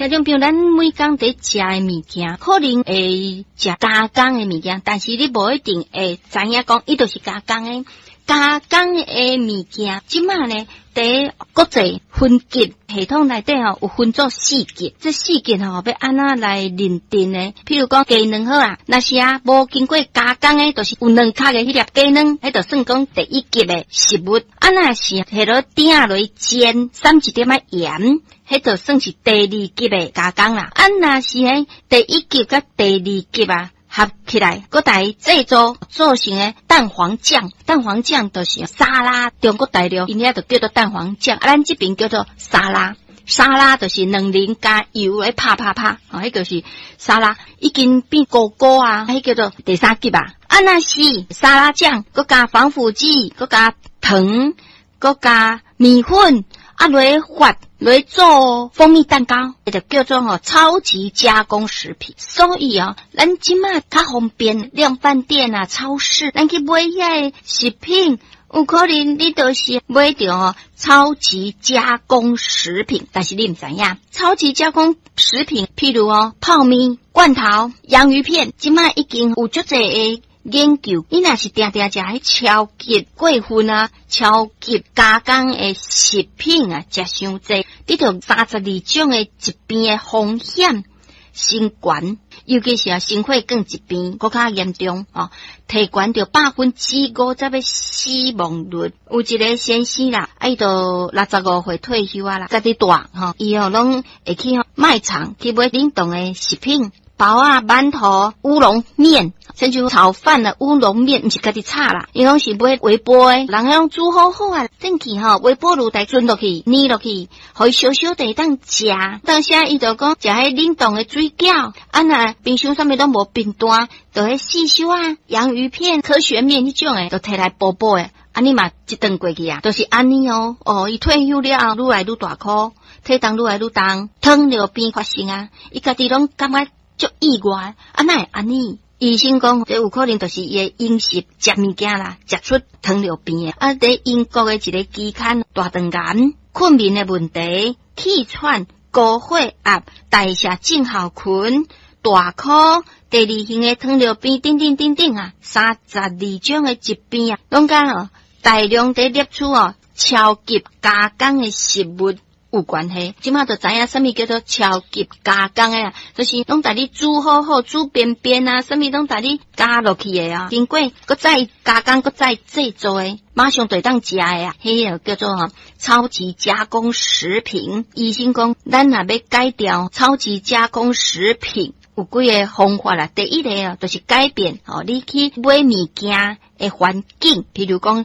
聽眾朋友，咱每工佇食的物件，可能會食加工的物件，但是你無一定會知影講，伊就是加工的。加工的物件，這馬呢，佇國際分級系統內底吼，有分做四級。這四級吼，欲按怎來認定呢？譬如講雞卵好啊，若是啊無經過加工的，就是有卵殼的彼粒雞卵，彼就算講第一級的食物。啊，若是下落鼎落煎，攕一點仔鹽，彼就算是第二級的加工啦。啊，若是彼第一級佮第二級啊，合起來，閣來製作做成的蛋黃醬，蛋黃醬就是沙拉。中國大陸𪜶遐就叫做蛋黃醬，啊，咱這邊叫做沙拉。沙拉就是卵仁加油來拍拍拍，哦，彼就是沙拉，已經變糊糊啊，彼叫做第三級啊。啊，若是沙拉醬，閣加防腐劑，閣加糖，閣加麵粉，啊，來發來做蜂蜜蛋糕，就叫做吼超級加工食品。所以哦，咱這馬較方便，量販店啊、超市，咱去買遐个食品，有可能你都是買著吼超級加工食品，但是你毋知影，超級加工食品，譬如哦泡麵、罐頭、洋芋片，這馬已經有足濟个研究，你若是定定食彼超級過分啊、超級加工的食品啊，食傷濟，得著32種的疾病的風險升懸，尤其是啊心血管疾病，閣較嚴重哦，提懸著50%的死亡率。有一个先生啦，啊伊都65歲退休啊啦，家己蹛吼，伊吼攏會去賣場去買冷凍的食品。包仔、饅頭、烏龍麵，親像炒飯的烏龍麵，毋是家己炒啦，伊攏是買微波的，人攏煮好好啊，轉去吼微波爐來轉落去，捏落去，予伊燒燒就會當食。當時伊就講食彼冷凍的水餃，啊若冰箱啥物攏無冰單，就彼四修啊、洋芋片、科學麵彼種的，就提來補補的，按呢嘛一頓過去啊，就是按呢哦。哦，伊退休了後，愈來愈大箍，體重愈來愈重，糖尿病發生啊，伊家己攏感覺足意外，啊哪會按呢？醫生講，這有可能就是伊的飲食食物件啦，食出糖尿病的。啊，佇英國的一个期刊，大腸癌、睏眠的問題、氣喘、高血壓、代謝症候群、大箍、第二型的糖尿病等等等等啊，32種的疾病啊，攏佮哦大量佇攝取哦超級加工的食物有關係。這馬就知影啥物叫做超級加工的啊，就是攏共你煮好好、煮扁扁啊，啥物攏共你加落去的啊，經過閣再加工、閣再製作的，馬上就會當食的啊，彼個叫做吼超級加工食品。醫生講，咱若欲改掉超級加工食品，有幾个方法啦。第一个哦，就是改變哦，你去買物件的環境，譬如講。